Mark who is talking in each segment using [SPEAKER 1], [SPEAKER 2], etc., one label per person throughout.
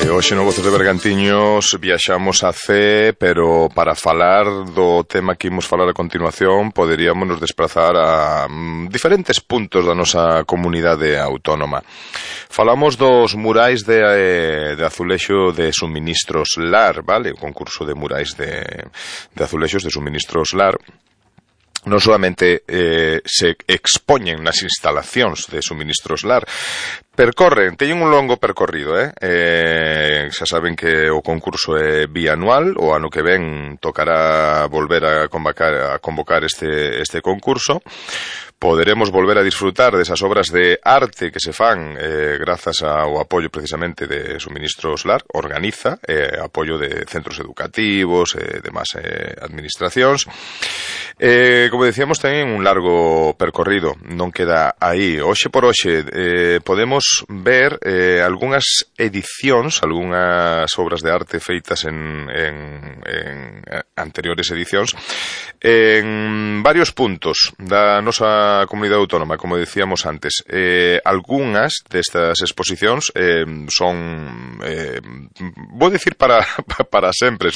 [SPEAKER 1] Hoxe no Voces de Bergantiños viaxamos a C, pero para falar do tema que imos falar a continuación poderíamos nos desplazar a diferentes puntos da nosa comunidade autónoma. Falamos dos murais de azulexo de suministros LAR, vale? O concurso de murais de azulexos de suministros LAR. Non solamente se expoñen nas instalacións de suministros LAR, teñen un longo percorrido, xa saben que o concurso é bianual, o ano que ven tocará volver a convocar este concurso. Poderemos volver a disfrutar desas obras de arte que se fan grazas ao apoio precisamente de Suministros LAR, organiza apoio de centros educativos e demás administracións. Como decíamos, ten un largo percorrido, non queda aí. Hoxe por hoxe podemos ver algunhas edicións, algunhas obras de arte feitas en anteriores edicións en varios puntos da nosa comunidade autónoma, como decíamos antes. Algunhas destas exposicións son vou dicir para sempre,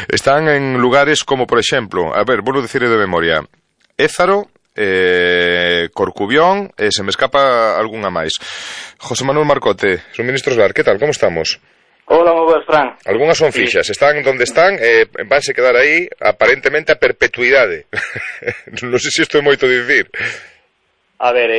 [SPEAKER 1] están en lugares como, por exemplo, vou dicir de memoria, Ézaro, Corcubión, se me escapa algunha máis. José Manuel Marcote, Suministros LAR, que tal, como estamos?
[SPEAKER 2] Hola, moi boas, Fran.
[SPEAKER 1] Algunhas son fixas, están donde están, vanse quedar aí aparentemente a perpetuidade. Non sei se isto é moito dicir.
[SPEAKER 2] A ver,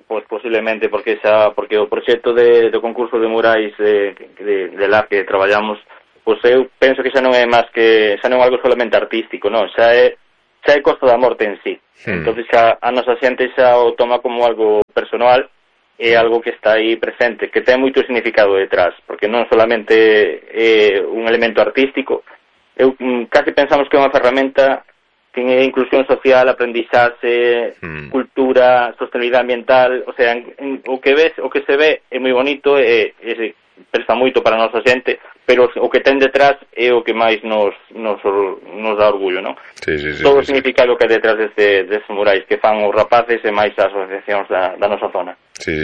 [SPEAKER 2] pois posiblemente porque o proxecto do concurso de murais de LAR que traballamos, pois eu penso que xa non é algo solamente artístico, non, xa é Costa da Morte en sí. Entonces xa a nosa xente xa o toma como algo personal, é algo que está aí presente, que ten moito significado detrás, porque non solamente é un elemento artístico, casi pensamos que é unha ferramenta que é inclusión social, aprendizaxe, cultura, sostenibilidade ambiental, o sea, o que se ve é moi bonito e presta moito para a nosa xente, pero o que ten detrás é o que máis nos dá orgullo, non?
[SPEAKER 1] Sí,
[SPEAKER 2] todo o significado que é detrás destes murais que fan os rapaces e máis as asociacións da nosa zona.
[SPEAKER 1] Sí.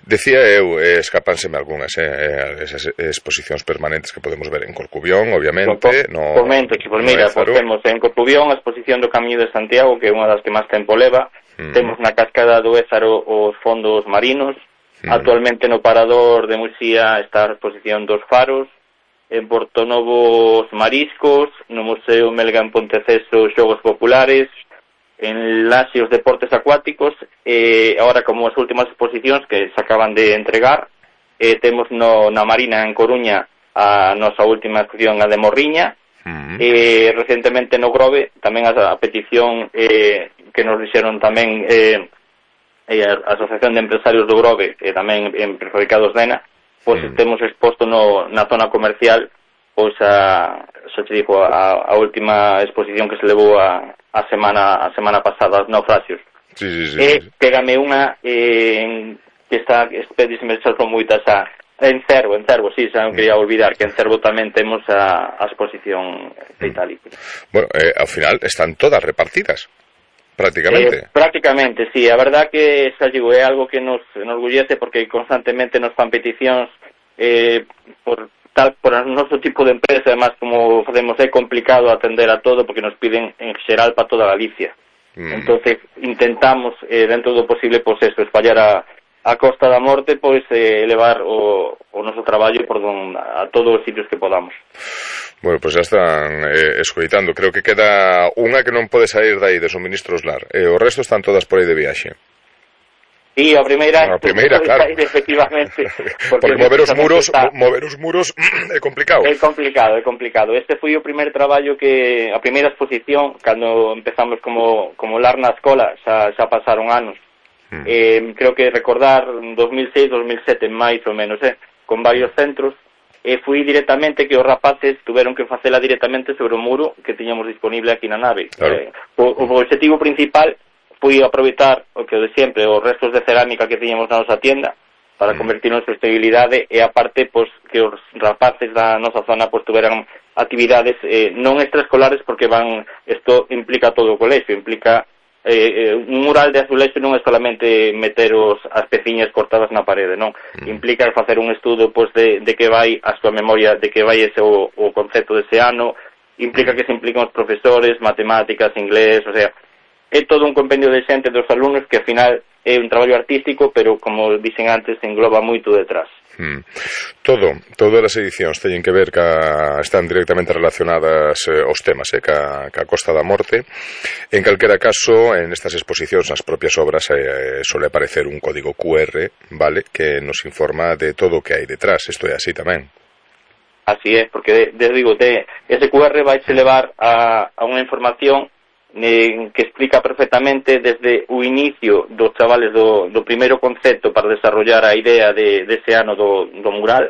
[SPEAKER 1] Decía eu, escápanseme algunhas esas exposicións permanentes que podemos ver en Corcubión, obviamente.
[SPEAKER 2] Comento que, mira, temos en Corcubión a exposición do Camiño de Santiago, que é unha das que máis tempo leva. Temos na cascada do Ézaro os fondos marinos. Actualmente no Parador de Muxía está a exposición dos faros. En Portonovo os mariscos. No Museo Melga en Ponteceso os xogos populares. En Laxe os deportes acuáticos. Agora, como as últimas exposicións que se acaban de entregar, temos na Marina en Coruña a nosa última exposición, a de Morriña. Recentemente no Grove tamén a petición que nos dixeron tamén a Asociación de Empresarios do Grove e tamén en Prefabricados Dena, pois temos exposto na zona comercial pois a última exposición que se levou a semana pasada, os naufraxios.
[SPEAKER 1] Sí.
[SPEAKER 2] Pégame unha que está expedísime son moitas en Cervo, sí, xa non quería olvidar que en Cervo tamén temos a exposición de Italia.
[SPEAKER 1] Bueno, ao final están todas repartidas.
[SPEAKER 2] Prácticamente, sí. A verdad que xa digo, é algo que nos enorgullece porque constantemente nos fan peticións por o noso tipo de empresa, además como facemos é complicado atender a todo porque nos piden en xeral para toda Galicia. Entonces intentamos dentro do posible pois espallar a Costa da Morte, pois elevar o noso traballo a todos os sitios que podamos.
[SPEAKER 1] Bueno, pois já están escoitando. Creo que queda unha que non pode sair dai de Suministros LAR. O resto están todas por aí de viaxe.
[SPEAKER 2] E a primeira,
[SPEAKER 1] claro.
[SPEAKER 2] Efectivamente.
[SPEAKER 1] Porque mover os muros é complicado.
[SPEAKER 2] É complicado. Este foi o primeiro traballo a primeira exposición, cando empezamos como LAR na escola, xa pasaron anos. Creo que recordar 2006, 2007, máis ou menos, con varios centros. Fui directamente que os rapaces tuveron que facela directamente sobre o muro que tiñamos disponible aquí na nave.
[SPEAKER 1] Claro.
[SPEAKER 2] O objetivo principal foi aproveitar o que de sempre, os restos de cerámica que tiñamos na nosa tienda para convertirnos en sostenibilidade e aparte pois que os rapaces da nosa zona pois tuveran actividades non extraescolares porque isto implica todo o colexio, implica un mural de azulexo non é solamente meter as peciñas cortadas na parede, non? Implica facer un estudo pois de que vai a súa memoria, de que vai ese o concepto dese ano, implica que se implican os profesores, matemáticas, inglés, o sea, é todo un compendio de xente dos alumnos que ao final é un traballo artístico, pero como dixen antes, engloba moito detrás.
[SPEAKER 1] Todas as edicións teñen que ver están directamente relacionadas aos temas ca Costa da Morte. En calquera caso, en estas exposicións, nas propias obras, suele aparecer un código QR, vale, que nos informa de todo o que hai detrás. Isto é así tamén.
[SPEAKER 2] Así é, porque ese QR vai se levar a unha información que explica perfectamente desde o inicio dos chavales do primeiro concepto para desarrollar a idea dese ano do mural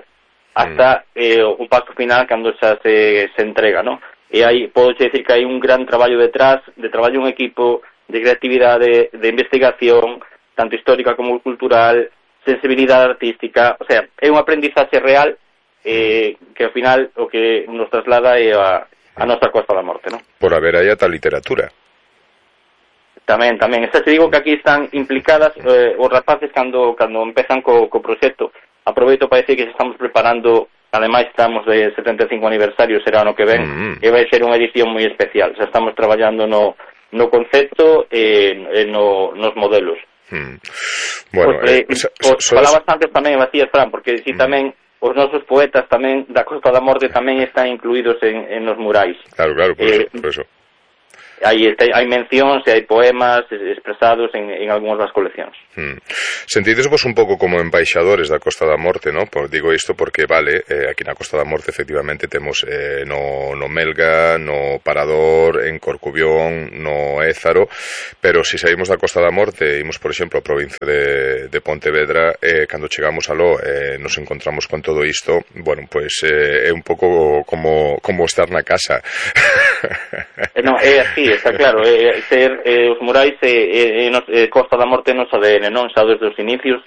[SPEAKER 2] hasta o paso final cando xa se entrega, ¿no? E aí podo decir que hai un gran traballo detrás, de traballo en equipo, de creatividade, de investigación, tanto histórica como cultural, sensibilidade artística, o sea, é un aprendizaxe real que ao final o que nos traslada é a nosa Costa da Morte, ¿no?
[SPEAKER 1] Por haber aí ata literatura.
[SPEAKER 2] Tamén. Esta te digo que aquí están implicadas os rapaces cando empezan co proxecto. Aproveito para decir que estamos preparando, ademais estamos de 75 aniversario, será ano que ven, e vai ser unha edición moi especial. Xa estamos traballando no concepto e nos modelos.
[SPEAKER 1] Bueno,
[SPEAKER 2] falabas antes tamén, Macías, Fran, porque si tamén os nosos poetas tamén da Costa da Morte tamén están incluídos en nos murais.
[SPEAKER 1] Claro, por eso.
[SPEAKER 2] Hai mencións e hai poemas expresados en algunhas das coleccións.
[SPEAKER 1] Sentidesvos un pouco como embaixadores da Costa da Morte, ¿no? Digo isto porque, vale, aquí na Costa da Morte efectivamente temos no Melga, no Parador, en Corcubión, no Ézaro, pero se saímos da Costa da Morte e imos, por exemplo, a provincia de Pontevedra, cando chegamos aló nos encontramos con todo isto, bueno, pois é un pouco como estar na casa.
[SPEAKER 2] Non, é así, está claro, os murais Costa da Morte nos ADN, non? Xa desde os inicios,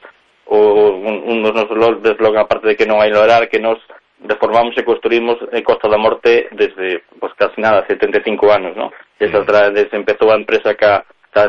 [SPEAKER 2] un dos nosos deslogan, aparte de que non hai lograr, que nos reformamos e construímos Costa da Morte desde, pues casi nada, 75 anos, non? Desde empezou a empresa que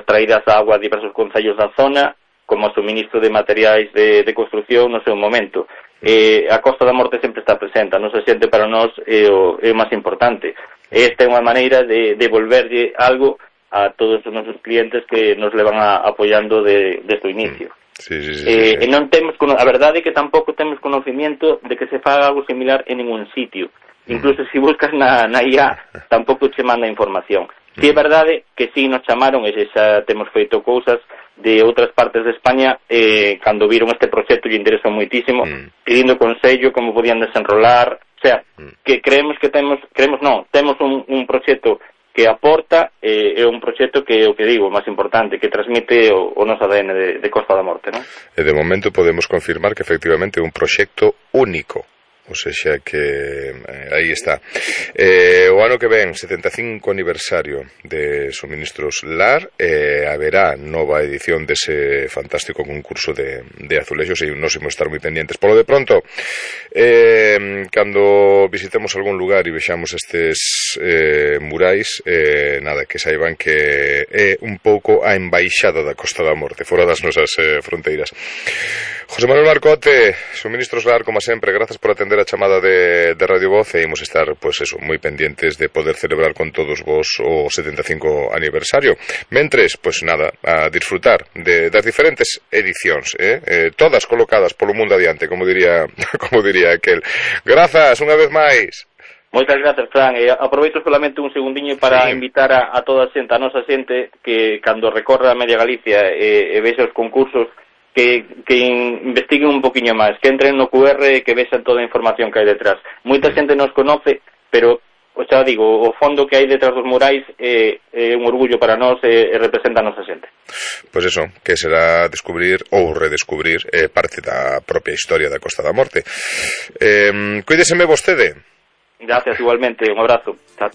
[SPEAKER 2] traídas a agua a diversos concellos da zona, como suministro de materiais de construcción no seu momento. A Costa da Morte sempre está presente, a nosa xente para nós é o máis importante. Esta é unha maneira de devolverlle algo a todos os nosos clientes que nos levan apoiando desde o inicio.
[SPEAKER 1] Sí.
[SPEAKER 2] E non temos, a verdade é que tampouco temos conocimiento de que se faga algo similar en ningún sitio. Incluso se buscas na IA, tampouco che manda información. Si é verdade que sí nos chamaron e xa temos feito cousas de outras partes de España cando viron este proxecto lle interesou moitísimo, pedindo consello como podían desenrolar, o sea, que temos un proxecto que aporta, é un proxecto que o que digo, máis importante, que transmite o noso ADN de Costa da Morte, non?
[SPEAKER 1] E de momento podemos confirmar que efectivamente é un proxecto único. O sea que aí está. O ano que ven, 75 aniversario de Suministros LAR, haberá nova edición dese fantástico concurso de azulexos e nos imos estar moi pendientes. Polo de pronto, cando visitemos algún lugar e vexamos estes murais, nada, que saiban que é un pouco a embaixada da Costa da Morte, fora das nosas fronteiras. José Manuel Marcote, Suministros LAR, como sempre, grazas por atender a chamada de Radio Voz e imos estar, pois eso, moi pendientes de poder celebrar con todos vos o 75 aniversario. Mentres, pois nada, a disfrutar das diferentes edicións, todas colocadas polo mundo adiante, como diría aquel. Grazas, unha vez máis.
[SPEAKER 2] Moitas grazas, Fran, e aproveito solamente un segundiño para invitar a toda a xente, a nosa xente, que cando recorra a media Galicia e vexa os concursos, que investiguen un poquinho máis, que entren no QR e que vexan toda a información que hai detrás. Moita xente nos conoce, pero, xa digo, o fondo que hai detrás dos murais é un orgullo para nós e representa a nosa xente.
[SPEAKER 1] Pois eso, que será descubrir ou redescubrir parte da propia historia da Costa da Morte. Cuídeseme vostede.
[SPEAKER 2] Gracias, igualmente, un abrazo. Chao.